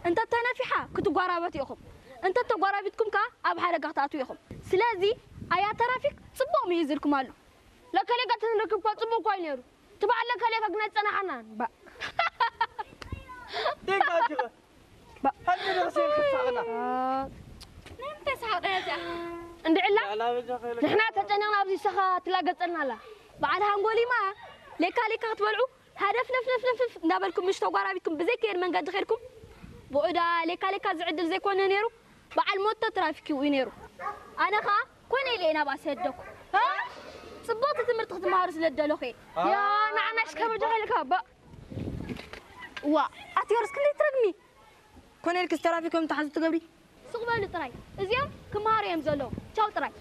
እንተ ተነፊሓ ክትጓራበቱ ኢኹም፣ እንተ ተጓራቢትኩም ከኣ ኣብ ሓደጋ ክትኣትዉ ኢኹም። ስለዚ ኣያ ትራፊክ ጽቡቕ ምሂዝልኩም ኣሎ። ለከሌካ ተንረክብኳ ጽቡቕ እኳ እዩ ነይሩ። እቲ በዓል ለከሌካ ግን ኣይጸናሓናን። ባ ደንጋጅኸ ባ- ሓንቲ ንኽስኤል ክትሳቕና ንምንታይ ሳቕ ደረጃ እንድዕላ ላበጃ ኸይለ ንሕና ተጨኒቕና ኣብዚ ሰኻ ትላገጸልና ኣላ። በዓል ሃንጎሊማ ሌካ ሌካ ክትበልዑ ሃደፍ ነፍ ነፍ ነፍ ነፍ እንዳበልኩም ምሽ ተጓራቢኩም ብዘይ ከየድ መንገዲ ኸድኩም። ብኡዳ ሌካ ሌካ ዝዕድል ዘይኮነ ነይሩ በዓል ሞቶ ትራፊክ ይውኡ ነይሩ። ኣነ ኸኣ ኮነ ኢለ እየ ናብኣ ሰደኩ። ጽቡቕቲ ትምህርቲ ክትመሃሩ ስለ ደለኹ እየ። ያ ንዓናሽ ከበጃ ኸይልካ ባ ዋ ኣትዮርስ ክንደይ ትረግሚ? ኮነ ኢልክስ ትራፊክ እዮም ተሓዙ ትገብሪ። ሱቕ በሉ ጥራይ። እዚኦም ክመሃሩ እዮም ዘለዉ። ቻው ጥራይ።